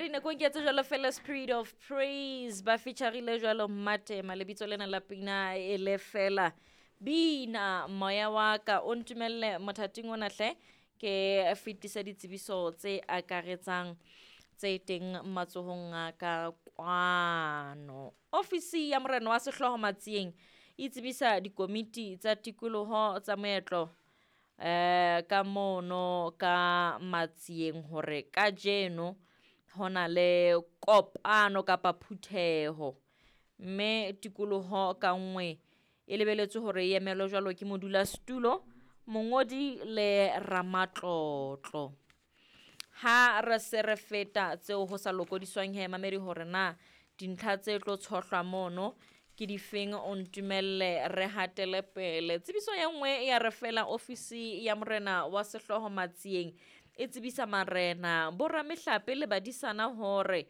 Mamedi nakong ke tse jwalo fela Spirit of Praise ba featurile jwalo Mmatema lebitso lena la pina e le fela bina moya wa ka o ntumelle mothating ona hle ke fetisa ditsebiso tse akaretsang tse teng matsohong a ka kwano. Ofisi ya morena wa sehlooho Matsieng e tsebisa dikomiti tsa tikoloho tsa moetlo ka mono ka Matsieng hore kajeno hona le kopano kapa phutheho mme tikoloho ka nngwe e lebeletswe hore e emelwe jwalo ke modulasetulo, mongodi le ramatlotlo. Ha re se re feta tseo ho sa lokodiswang he mamedi hore na dintlha tse tlo tshohlwa mono ke difeng o ntumelle re hatele pele. Tsebiso e nngwe ya re fela ofisi ya morena wa sehlooho Matsieng e tsebisa marena, boramehlape le badisana hore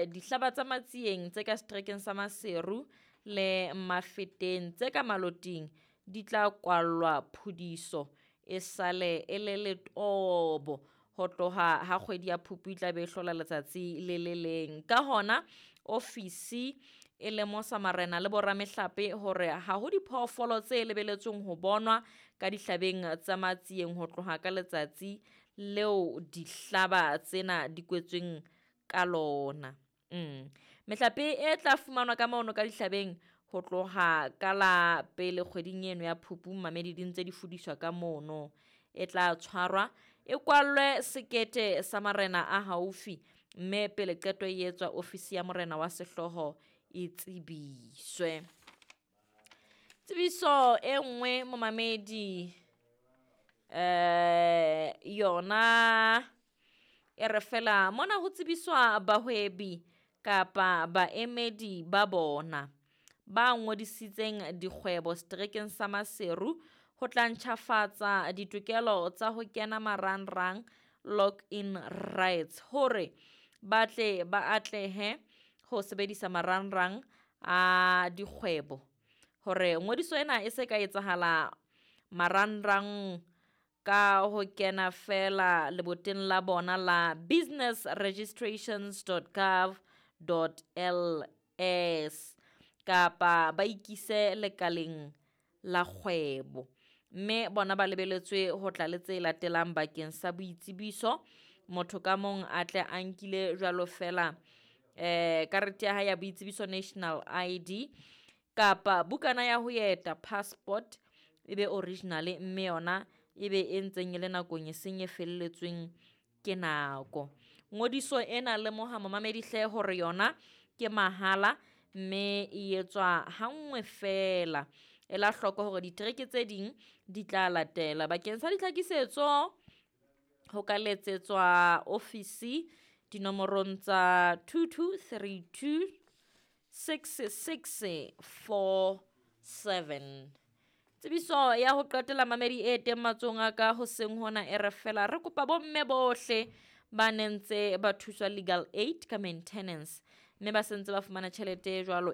dihlaba tsa Matsieng tse ka seterekeng sa Maseru le Mafeteng tse ka Maloting di tla kwallwa phudiso e sale e le letobo ho tloha ha kgwedi ya Phupu e tla be e hlola letsatsi le le leng. Ka hona ofisi e lemosa marena le boramehlape hore ha ho diphoofolo tse lebeletsweng ho bonwa ka dihlabeng tsa Matsieng ho tloha ka letsatsi leo dihlaba tsena di kwetsweng ka lona. Mehlape e tla fumanwa ka mono ka dihlabeng ho tloha ka la pele kgweding eno ya Phupu mamedi di ntse di fudiswa ka mono. E tla tshwarwa e kwallwe sekete sa marena a haufi mme pele qeto e etswa ofisi ya morena wa sehlooho e tsebiswe. Tsebiso e nngwe momamedi yona e re fela mona ho tsebiswa bahwebi kapa baemedi ba bona ba ngodisitseng dikgwebo seterekeng sa Maseru ho tla ntjhafatsa ditokelo tsa ho kena marangrang login rights hore ba tle ba atlehe ho sebedisa marangrang a dikgwebo hore ngodiso ena e se ka etsahala marangrang ka ho kena fela leboteng la bona la businessregistrations.gov.ls kapa ba ikise lekaleng la kgwebo mme bona ba lebeletswe ho tla le tse latelang bakeng sa boitsebiso. Motho ka mong a tle a nkile jwalo fela karete ya hae ya boitsebiso national ID kapa bukana ya ho eta passport e be original mme yona e be e ntseng e le nakong e seng e felletsweng ke nako. Ngodiso ena lemoha momamedi hle hore yona ke mahala mme e etswa hanngwe fela. Ela hloko hore ditereke tse ding di tla latela. Bakeng sa ditlhakisetso ho ka letsetswa ofisi dinomorong tsa 2232 6647. Tsebiso ya ho qetela mamedi e teng matsohong a ka hoseng hona e re fela re kopa bomme bohle ba neng ntse ba thuswa legal aid ka maintenance mme ba sentse ba fumana tjhelete e jwalo.